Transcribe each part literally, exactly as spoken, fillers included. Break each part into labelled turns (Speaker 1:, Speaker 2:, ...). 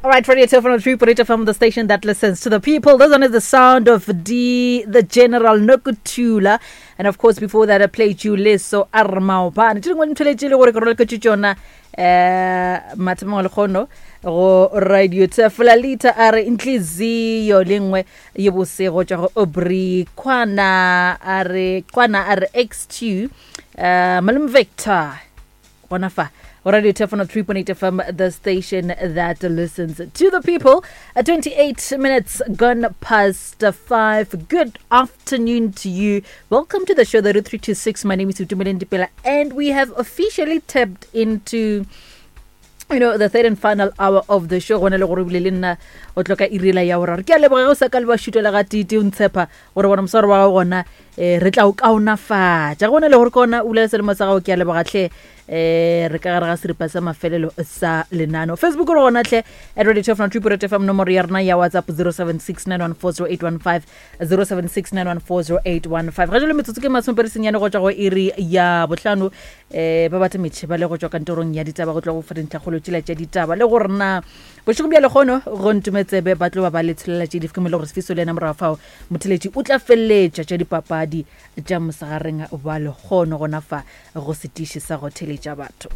Speaker 1: All right, Radio two point three point eight F M, the station that listens to the people. This one is the sound of D, the General Nokuthula. And of course, before that, I played you Leso Armaopane. Tše dingwe ntho tše le gore ke roleketše tšona eh mathomong a lekgono go Radio Teflalita a re intliziyo lengwe ye bosego tša go Aubrey Kwana a re Kwana a re X two eh Malome Victor gona fa Radio Teflon three point eight F M, the station that listens to the people. At twenty-eight minutes gone past five. Good afternoon to you. Welcome to the show, the Route three two six. My name is Utumeleng Dipela, and we have officially tapped into, you know, the third and final hour of the show. Gona le gore bile le nna o tloka irela ya boraro. Ke a leboga go sa ka le ba šutela ga tite o ntshepa gore bona moswaro wa gago gona eh re tla o kaonafatša. Gona le gore kona o bulela selemo sa gago, ke a leboga hle. Eh re ka gare ga seripa sa mafelelo sa lenano. Facebook re gona hle at Radio Teflon three point eight F M, nomoro ya rena ya WhatsApp zero seven six nine one four zero eight one five, zero seven six nine one four zero eight one five. Ga jalo metsotso ke masomepedi senyane go tšwa go iri ya bohlano. Eh ba batla metšhe ba le go tšwa kantorong ya ditaba go tloga go fa dintlhakgolo tšela tša ditaba le gore na bošego bja lekgono go ntumetsebe ba tlo ba ba le tshelela tše di fke le gore Sifiso le yena morago fao motheletši o tla feleletša tša dipapadi tša mosegareng wa lekgono gona fa go setiši sa go theletša batho.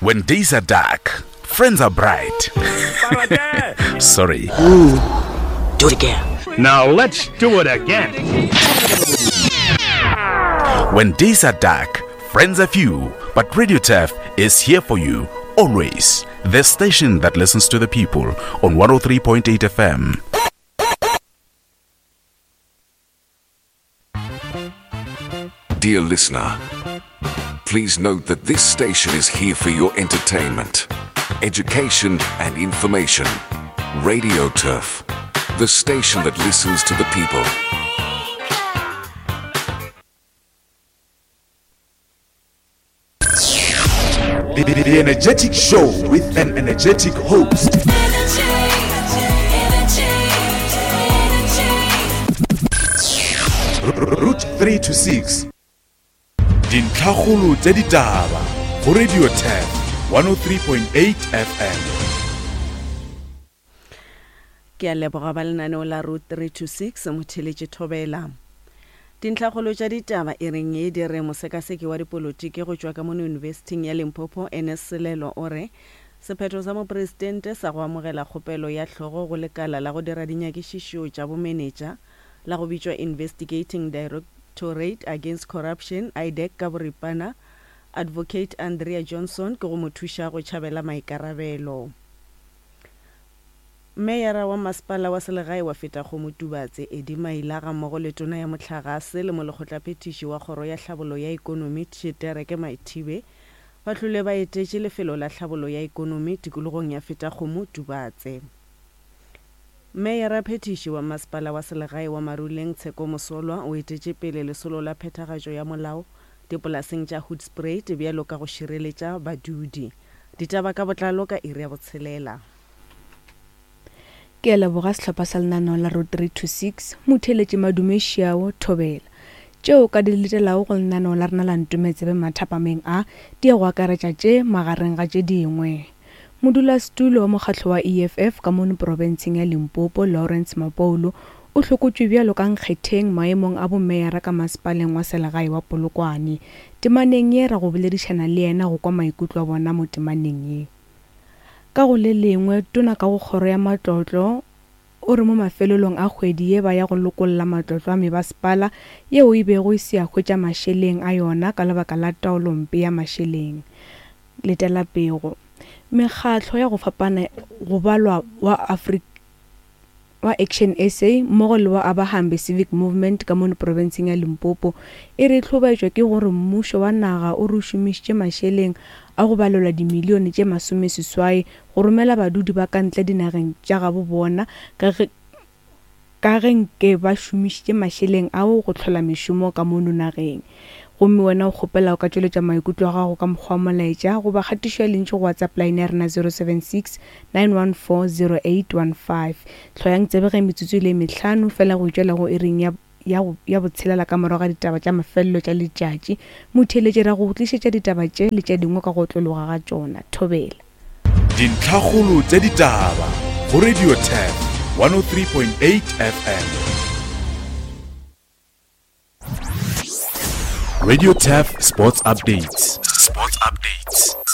Speaker 2: When days are dark, friends are bright. Sorry.
Speaker 3: Ooh, do it again.
Speaker 4: Now let's do it again.
Speaker 2: When days are dark, friends are few, but Radio Turf is here for you always. The station that listens to the people on one oh three point eight F M.
Speaker 5: Dear listener, please note that this station is here for your entertainment, education and information. Radio Turf, the station that listens to the people.
Speaker 2: The, the, the Energetic Show with an energetic host. Route three to six. Dintlhakgolo tša ditaba go Radio Turf one oh three point eight F M.
Speaker 6: Ke a leboga ba lenaneo la Route three to six motheletše Thobela. Dintlhakgolo tša ditaba e reng ye di re mosekaseki wa dipolotiki go tšwa ka mono University ya Limpopo N S Selelo o re sephetho sa mopresidente sa go amogela kgopelo ya hlogo go lekala la go dira dinyakišišo tša bomenetša la go bitšwa Investigating Directorate Against Corruption I D A C ka boripana Advocate Andrea Johnson ke go mo thuša go tšhabela maikarabelo. Meyara wa masepala wa selegae wa Fetakgomo Tubatse Eddie Maila ga mmogo le tona ya mohlagase le molekgotlaphethiši wa kgoro ya tlhabollo ya ikonomi Tshitereke Maithibe ba hlole ba etetše lefelo la tlhabollo ya ikonomi tikologong ya Fetakgomo Tubatse. Meyara phethiši wa masepala wa selegae wa Maruleng Tsheko Mosolwa o etetše pele lesolo la phethagatšo ya molao dipolaseng tša Hoedspruit bjalo ka go šireletša badudi. Ditaba ka botlalo ka iri ya botshelela.
Speaker 7: Ke a leboga sehlopha sa lenaneo la Route three two six motheletše Madume Šiao Thobela. Tšeo ka di letelago go lenaneo la rena la Ntumetsebe mathapameng a di ya go akaretša tše magareng ga tše dingwe. Modulasetulo wa mokgatlo wa E F F ka mono profenseng ya Limpopo Lawrence Mapoulo o hlokotšwe bjalo ka nkgetheng maemong a bomeyara ka masepaleng wa selegae wa Polokwane. Temaneng ye ra go boledišana le yena go kwa maikutlo a bona mo temaneng ye. Ka go le lengwe tona ka go kgoro ya matlotlo o re mo mafelelong a kgwedi ye ba ya go lokolla matlotlo a mebasepala yeo e bego e se ya hwetša mašeleng a yona ka lebaka la taolompe ya mašeleng. Letela pego. Mekgatlo ya go fapana go balwa wa Afrika wa Action S A mmogo le wa Abahambe Civic Movement ka mono profenseng ya Limpopo e re hlobaetšwa ke gore mmušo wa naga o re šomišitše mašeleng a go balelwa dimilione tše masomeseswai go romela badudi ba ka ntle dinageng tša gabo bona ka ge ka ge nke ba šomišitše mašeleng ao go hlola mešomo ka mono nageng. Gomme wena o kgopela o ka tšweletša maikutlo a gago ka mokgwa wa molaetša goba kgatišo ya lentšu go WhatsApp line ya rena zero seven six nine one four zero eight one five. Hloyang tsebe ge metsotso e le mehlano fela go itšwela go iring ya ya go, ya botshelela ka morago ga ditaba tša mafelelo tša letšatši. Motheeletši ra go tlišetša ditaba tše le tše dingwe ka go otlologa ga tšona. Thobela.
Speaker 2: Dintlhakgolo tša ditaba go Radio Turf one oh three point eight F M. Radio Turf Sports Updates. Sports Updates.